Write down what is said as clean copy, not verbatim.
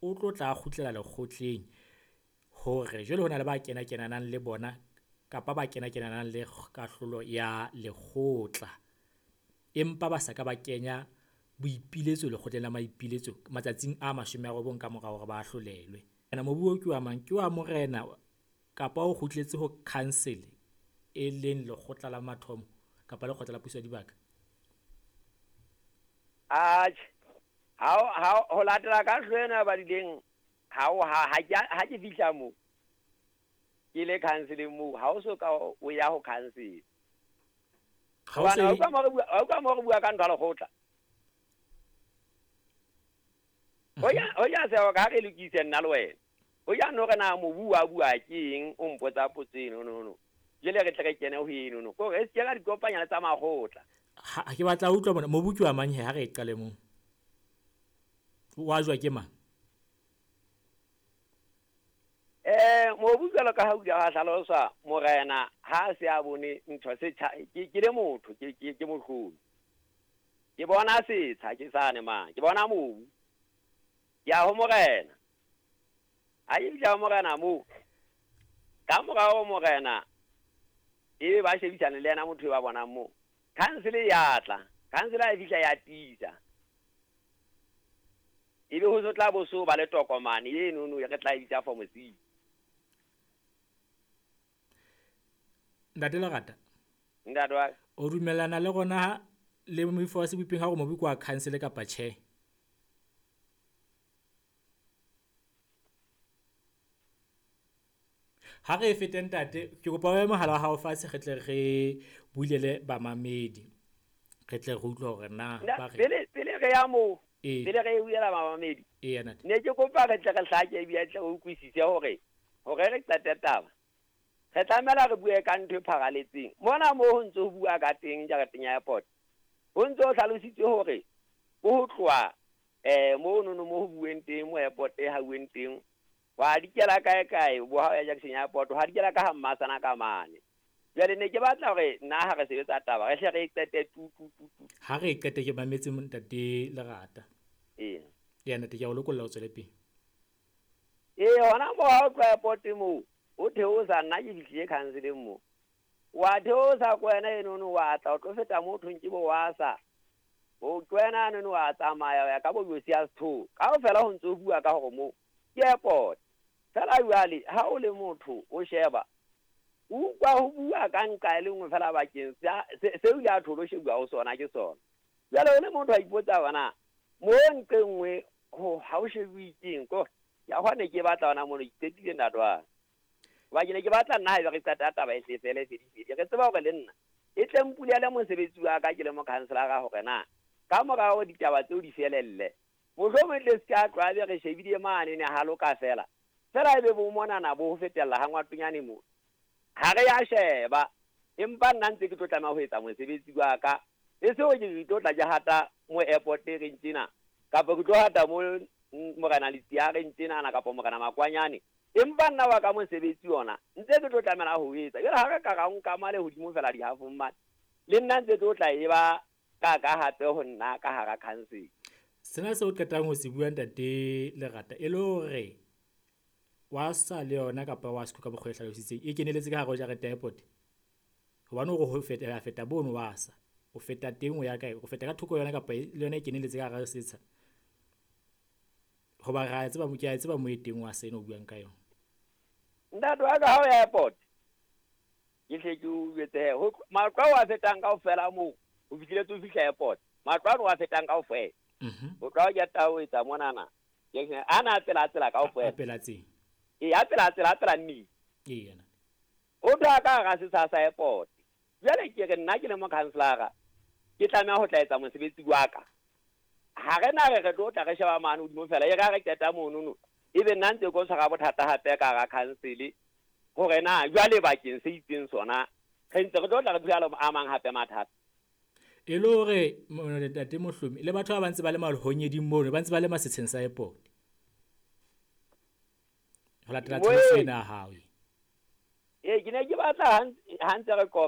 o tlo tla kgutlela lekgotleng hore jwale ho na le ba kena-kenanang le bona kapa ba kena-kenanang le kahlolo ya lekgotla, empa ba sa ka ba kenya boipiletso lekgotleng la maipiletso matsatsing a 90 ka mora hore ba ahlolelwe. Ena mobu oo ke wa mang? Ke wa morena kapa o kgutletse ho council, e leng lekgotla la mathomo kapa lekgotla la puso ya dibaka? Atjhe, ha ho latela kahlolo ena e badileng, ha ke fihla moo ke le council-eng moo, ha o so ka o ya ho council. Ha o se Hobane ha utlwa mo re bua ka ntho ya lekgotla. Ho ya seo ka re lokise nna le wena. Ho ya no re na mobu wa bua ke eng, o mpotsa potso eno, no, no. Jwale re tle re kene ho eno, no. Kore re se ke ra di kopanya le tsa makgotla. Ha ke batla ho utlwa mona, mobu ke wa mang he, ha re e qale moo. Wa jwa ke mang? Mobu jwalo ka ha o ile wa hlaloswa, morena ha a se a bone ntho se tjha, ke le motho, ke mohlomi. Ke bona setsha ke sane mang, ke bona mobu. Ke ya ho morena. Ha ke fihla ho morena moo, ka mora ho morena e ba shebisane le yena motho e ba bonang moo. Council ya tla, council ha e fihla ya tiisa. Ebe ho so tla bo so ba le tokomane eno no re tla e bitsa form C. Ntate Lerata. Ntate wa ka. O dumellana le rona le moifo wa Sebopeng ha hore mobu ke wa council kapa tjhe? Ha re fete ntate, ke kopa o behe mohala wa hao fatshe re tle re bulele bamamedi. Re tle re utlwe hore na ba re Pele re ya moo, pele re bulela bamamedi. Ee, ntate. Ne ke kopa re tle re hlake ebile tle re utlwisise hore re qete taba. Re tlamela re bue ka ntho e pharaletseng. Mona moo ho ntse ho bua ka teng jareteng ya airport. Ho ntse ho hlalositswe hore ho tloha moo nono mo ho bueng teng, mo airport e hauweng teng, wa dikela kae kae, bo ha o ya Junction ya airport, wa dikela ka ha Mmasana ka mane. Jwale ne ke batla hore nna ha re sebetsa taba, re hle re e qete tu, tu, tu, tu. Ha re e qete ke mametse ntate Lerata. Ee. Ya ntate, ke a o lokolla o tswele pele. Ee, hona moo ha o tloha airport moo, o theosa, nna ke fihlile council-eng moo. Wa theosa ko wena enono, wa tla o tlo feta moo thweng ke bo wa sa. O ke wena enono wa tsamaya, wa ya ka bo Josia Sithole. Kaofela ho ntse ho bua ka hore moo ke airport. Fela jwale ha o le motho o sheba, o utlwa ho bua ka nqa e le nngwe fela bakeng se o ile a tholo shebuwa ho sona ke sona. Jwale o le motho a ipotsa hore na mo nqe nngwe ha o shebuwe keng, ko ya hwa ne ke batla hona mono, ke qetile ntate wa ka. Hoba ke ne ke batla nna haeba re qeta taba e hle fele, fedi, fedi. Re tseba hore le nna e tle mpulele mosebetsi wa ka ke le mokhanselara hore na ka mora hore ditaba tseo di felelle, mohlomong le se ka tloha be re shebile mane ne ha loka fela. Fela ebe bo monana bo ho fetella ha ngwatonyane mo. Ha re ya sheba, empa nna ntse ke tlo tlameha ho etsa mosebetsi wa ka. E se hore ke tlo tla ke hata mo airport e reng tjena, kapa ke tlo hata mo morena Letsia reng tjenana, kapa morena Makwanyane. Empa nna wa ka mosebetsi ona ntse ke tlo tlameha ho etsa. Jwale ha re ka ra nka male hodimo fela dihafong mane, le nna ntse tlo tla e ba ka ka hape ho nna ka hara council. Sena seo qetang ho se bua ntate Lerata, e le hore wa sa le yona kapa wa se ka mokgwa e hlalositseng, e keneletse ka hare ho jarete ya airport? Hobane hore ho feta, feta bono wa sa, o feta teng o ya kae? O feta ka thoko yona kapa le yona e keneletse ka hara setsha? Hoba ra tseba, ke a tseba mo e teng wa sena o buang ka yona. Ntate wa ka ha o ya airport, ke hle ke o jwetse he, ho matlo ao a fetang kaofela moo, ho fihletse o fihla airport, matlo ano a fetang kaofela. Ho tloha o keta ho etsa monana, ke re, ana a tsela, a tsela kaofela. A pela tsela. Ee, a tsela, a tsela, a tsela mmila. Ee, yena. O tloha ka hara setsha sa airport. Jwale ke re nna ke le mokhanselara, ke tlameha ho tla etsa mosebetsi wa ka. Ha re na re re tlo tla re sheba mane hodimo fela, e re ha re qeta monono, ebe nna ntse ke tshwara bothata hape ka hara council, hore na jwale bakeng se itseng sona, re ntse re tlo tla re phela le a mang hape mathata. E le hore, ntate Mohlomi, le batho ba ba ntse ba le malhonyeding mono, ba ntse ba le masetsheng sa airport. Ho latela Moe. tlhaloso ena ya hao e. Ee, ke ne ke batla ha ntse re qoqa.